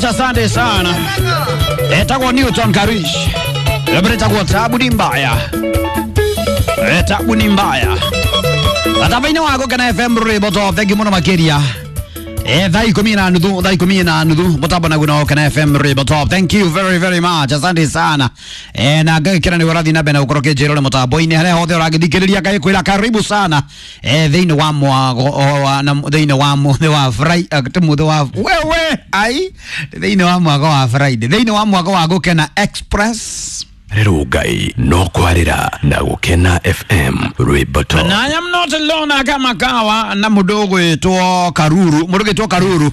much, asante sana. Etagwo Newton Karish. Etagwo tabu ni mbaya. Tabu ni mbaya. Atavaine wako kana FM Rwimbo Top. Thank you muno makiria. Thaa ikumi na nuthu, thaa ikumi na nuthu mutambo naguo na Kana FM Rwimbo Top. Thank you very very much, asante sana. Na ngagikira ni ũrathiĩ na mbere na gũkorwo ũkĩnjĩra ũrĩ mũtambo-inĩ harĩa hothe ũragĩthikĩrĩria, ngagĩkwĩra karibu sana thĩinĩ wa mwago na thĩinĩ wa mũthĩ wa Friday, mũthĩ wa wewe ai thĩinĩ wa mwago wa Friday, thĩinĩ wa mwago wa Gũkena Express. Rĩrũ Ngai no kwarĩra na Gũkena FM Rwimbo Top. Na I am not alone kama kawa na mũndũ ũgwĩtwo Karuru, mũndũ ũgwĩtwo Karuru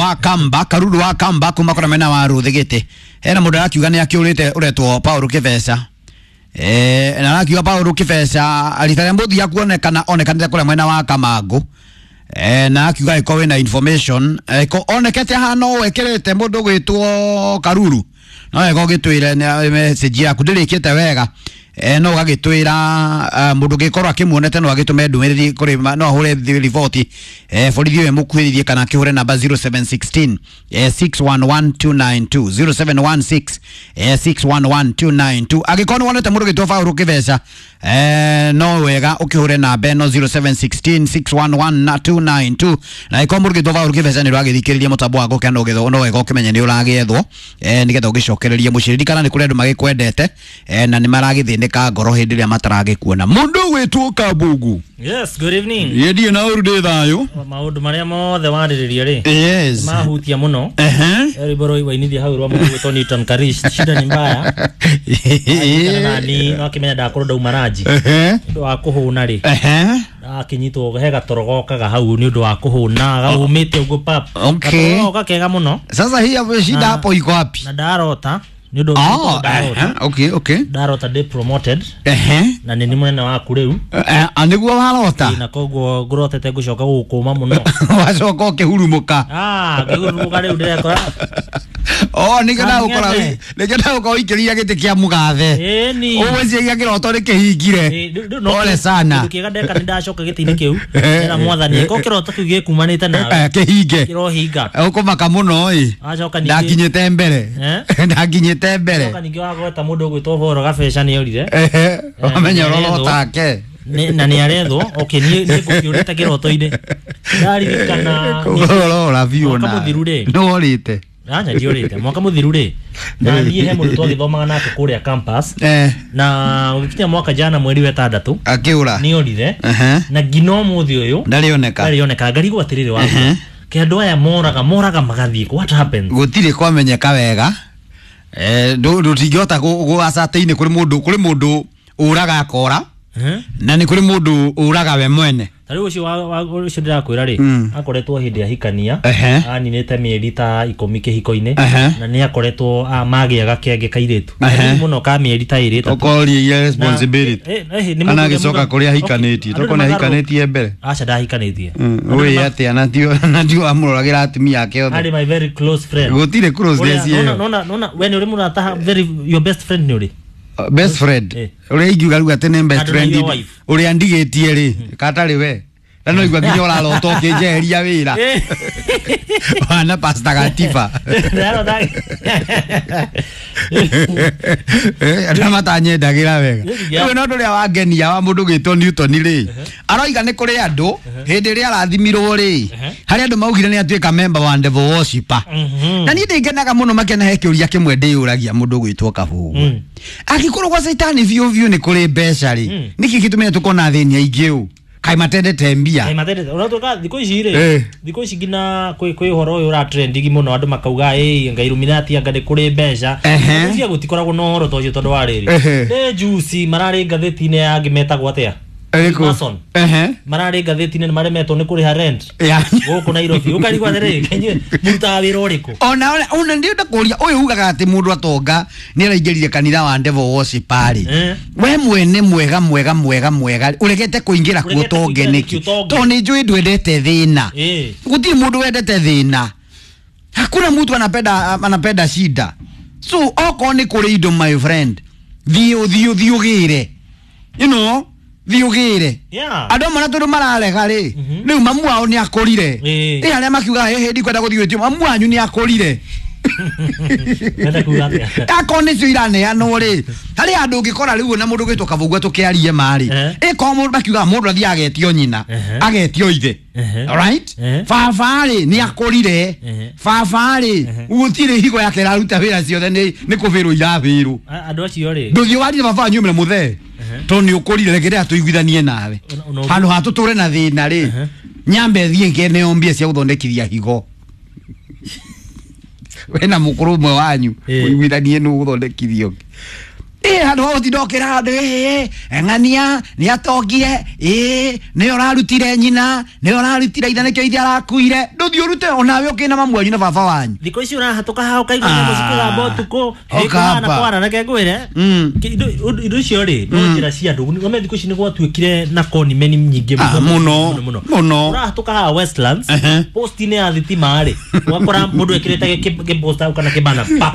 wa Kamba, Karuru wa Kamba kuma kũrĩa mwena wa Rũthigĩtĩ. Hena mũndũ arakiuga nĩ akĩũrĩte ũretwo Paul Kĩbeca. Na arakiuga Paul Kĩbeca rita rĩa mũthia kuonekana onekanĩte kũrĩa mwena wa Kamangũ. Na akiuga ĩkorwo wĩna information onekete hana ũũ ĩkĩrĩte mũndũ ũgwĩtwo Karuru. No wega ũgĩtwĩre message yaku ndĩrĩkĩte wega. No ũgagĩtwĩra mũndũ ũngĩkorwo akĩmuonete no agĩtũme ndũmĩrĩri kũrĩ no ahũre riboti borithi ũyũ ĩmũkuhĩrĩrie kana akĩhũre namba 0716 611292 0716 611292. Angĩkorwo nĩ wonete mũndũ ũgĩtwo Paul Kĩbeca no wega ũkĩhũre namba ĩno 0716 611292. Na angĩkorwo mũndũ ũgĩtwo Paul Kĩbeca nĩ ũragĩthikĩrĩria mũtambo wa Gũkena no wega ũkĩmenye nĩ ũragĩethwo nĩgetha ũgĩcokererie mũciĩ. Ririkana nĩ kũrĩ andũ magĩkwendete na nĩ maragĩthĩnĩka ngoro hĩndĩ ĩrĩa mataragĩkuona. Mũndũ ũgwĩtwo Kabugu. Yes, good evening. Yendie na ũru ndĩ thayũ. Maũndũ marĩa mothe warĩrĩria rĩ Yes. mahutia mũno. Rwĩmbo rũu wainithia hau rwa mũndũ ũgwĩtwo Newton Karish, shida ni mbaya. Nani wakĩmenya ndakorwo ndauma ranji nĩ ũndũ wa kũhũna rĩ, akĩnyitwo he gatoro gokaga hau nĩ ũndũ wa kũhũna gaumĩte ũguo pap. Okay. Gatoro goka kega mũno. Sasa hii hapo shida hapo iko wapi? Na ndarota nĩ ũndũ ndarota. Okay, okay. Ndarota ndĩ promoted na nĩ nĩ mũnene waku rĩu. Nĩguo warota. Na koguo ngũrotete ngũcoka gũgũkũma mũno. Wacoka ũkĩhurumũka. Ngĩhurumũka rĩu ndĩrekora. Nĩkĩo ndagũkora, nĩkĩo ndagũkora ũikĩrĩire gĩtĩ kĩa mũgathe. Ũgwĩciria kĩroto nĩkĩhingire. Pole sana. Kĩndũ kĩega ndeka nĩ ndacoka gĩtĩ-inĩ kĩu. Ndĩra mwathani ko kĩroto kĩu gĩkumanĩte nawe. Kĩhinge. Kĩrohinga. Ũkũmaka mũno ĩ. Ndakinyĩte mbere. Ndakinyĩte mbere. Wacoka ningĩ wagweta mũndũ ũgwĩtwo Boro Gabeca nĩ orire. Wamenya ũrorotake. Na nĩ arethwo. Okay, niĩ ngũkĩũrĩte kĩroto-inĩ. Ndaririkana ũrora biũ mwaka mũthiru rĩ. Nĩworĩte. Anya ndiũrĩte. Mwaka mũthiru rĩ, na niĩ he mũndũ twagĩthomaga nake kũrĩa campus. Na ũgĩkinya mwaka jana mweri wa ĩtandatũ akĩũra. Nĩ orire. Na nginya ũmũthĩ ũyũ ndarĩoneka. Ndarĩoneka. Ngarigwo atĩrĩrĩ wakwa. Ke andũ aya moraga magathiĩ. What happens? Gũtirĩ kwamenyeka wega. Ndũtingĩhota gũacatä-inĩ kũrĩ mũndũ, kũrĩ mũndũ ũraga akora na nĩ kũrĩ mũndũ ũraga we mwene. Ta rĩu ũcio ũcio ndĩrakwĩra rĩ, akoretwo hĩndĩ ahikania, aninĩte mĩeri ta 10 kĩhiko-inĩ, na nĩ akoretwo magĩa gakenge kairĩtu mũno ka mĩeri ta ĩrĩ ĩtatũ. Ũkoria responsibility. Kana agĩcoka kũrĩa ahikanĩtie, tokorwo nĩ ahikanĩtie mbere. Aca ndahikanĩtie. Ũĩ atĩa na tio amũroragĩra atumia ake othe. Arĩ my very close friend. Gũtirĩ closeness ĩyo. Nona we nĩ ũrĩ mũrata very your best friend nĩ ũrĩ? Best friend. Ũrĩa ingiuga rĩu atĩ nĩ best friend ũrĩa ndigĩtie rĩ, katarĩ we. Na no igua nginya ũrarota ũkĩnjeheria wĩra. Wana Pastor Gatiba. Andũ matanyendagĩra wega. Rĩu no ũndũ ũrĩa wangenia wa mũndũ ũgwĩtwo Newton rĩ, aroiga nĩ kũrĩ andũ hĩndĩ ĩrĩa arathimirwo rĩ, harĩ andũ maugire nĩ atuĩka member wa devil worshipper. Na niĩ ndĩngenaga mũno makĩona he kĩũria kĩmwe ndĩyũragia mũndũ ũgwĩtwo Kabugu. Angĩkorwo gwa caitani biũ biũ nĩ kũrĩ mbeca rĩ, nĩkĩ gĩtũmĩte tũkona athĩni aingĩ ũũ? Kaĩ matendete mbia. Kaĩ matendete. Ũratuĩka thikũ ici rĩ, thikũ ici nginya kwĩ ũhoro ũyũ ũra trending mũno andũ makauga ĩ Ngai Illuminati anga nĩ kũrĩ mbeca. Cia gũtikoragwo na ũhoro ta ũcio tondũ wa rĩrĩ. Nĩ juice mararĩ ngathĩti-inĩ ya angĩ metagwo atĩa? Mason. Mararĩ ngathĩti-inĩ nĩ maremetwo nĩ kũrĩha rent. Gũkũ Nairobi. Ũkarigwo atĩrĩrĩ, inyuĩ mũrutaga wĩra ũrĩkũ? Ona ndĩrenda kũria ũyũ ugaga atĩ mũndũ atonga nĩ araingĩrire kanitha wa devil worshipper rĩ. We mwene mwega mwega mwega mwega ũregete kũingĩra kuo tonge nĩkĩ? Tondũ nĩ njũĩ ndwendete thĩna. Gũtirĩ mũndũ wendete thĩna. Hakuna mtu anapenda shida. So okorwo nĩ kũrĩ indo my friend, thiĩ ũgĩre. You know, Thiĩ ũgĩre. Yeah. Andũ amwe na tondũ mararega rĩ, rĩu mamu wao nĩ akũrire. Ĩĩ. Ĩ arĩa makiuga hĩhĩ ndikwenda gũthiĩ gwĩtio, mamu wanyu nĩ akũrire. Wenda kuga atĩa? Akorwo nĩcio iraneanwo rĩ, harĩ handũ ũngĩkora rĩu na mũndũ ũgwĩtwo Kavũgua tũkĩarie ma rĩ, ĩkorwo mũndũ makiugaga mũndũ athiĩ agetio nyina, agetio ithe. Alright? Baba rĩ nĩ akũrire. Baba rĩ gũtirĩ higo yake ĩraruta wĩra ciothe nĩ kũbĩrwo irabĩrwo. Andũ acio rĩ. Ndũthiĩ warire baba wanyu ũmĩre mũthee tondũ nĩ ũkũrire reke rĩrĩa tũiguithanie nawe. Handũ ha tũtũre na thĩna rĩ, nyambe thiĩ ngeneo mbia cia gũthondekithia higo. Wena mũkũrũ ũmwe wanyu ũiguithanie nũ gũthondekithio. Ĩ handũ ha gũtinda ũkĩra andũ ĩ ng'ania nĩ atongire, ĩ nĩwe ũrarutire nyina, nĩwe ũrarutire ithe nĩkĩo ithe arakuire. Ndũthiĩ ũrute onawe ũkĩna mamu wanyu na baba wanyu. Thikũ ici ũrahatũka haha ũkaigua nyamũ cikĩgamba ũtukũ. Ũkamba. Ĩkũhana kwara reke ngwĩre. Indo icio rĩ no njĩra cia andũ. Nĩ thikũ ici nĩ gwatuĩkire na koni meni nyingĩ Mũno, mũno. Ũrahatũka haha Westlands, post-inĩ ya thitima rĩ, ũgakora mũndũ ekĩrĩte gĩposta kana kĩbana pa.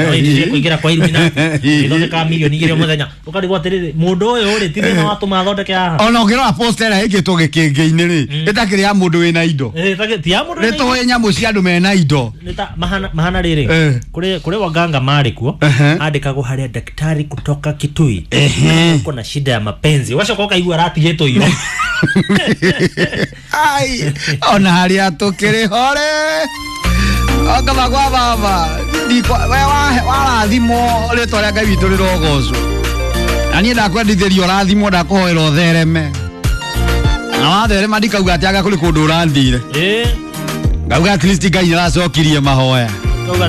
Ũrĩtie kũingĩra kwa Illuminati. Ĩthondekaga milioni igĩrĩ o mũthenya. Ũkarigwo atĩrĩrĩ, mũndũ ũyũ rĩ, ti thĩna watũma athondeke haha. Ona ũngĩrora poster ĩrĩa ĩkĩtwo gĩkĩngĩ-inĩ rĩ, ĩtakĩrĩ ya mũndũ wĩna indo. Ti ya mũndũ Nĩ wĩna indo. tũĩ nyamũ cia andũ mena indo. Nĩ ta mahana rĩrĩ, kũrĩ waganga marĩ kuo, andĩkagwo harĩa daktari kutoka Kitui. Uko na shida ya mapenzi. Ũgacoka ũkaigua aratigĩtwo iro. Ai, ona harĩa tũkĩrĩ hore. Okaba kwa baba. We warathimwo rĩtwa rĩa Ngai witũ rĩrogocwo. Na niĩ ndakwendithĩria ũrathimwo ndakũhoera ũthereme. Na watherema ndikauga atĩ anga kũrĩ kũndũ ũrathire. Ngauga at least Ngai nĩaracokirie mahoya. Ngauga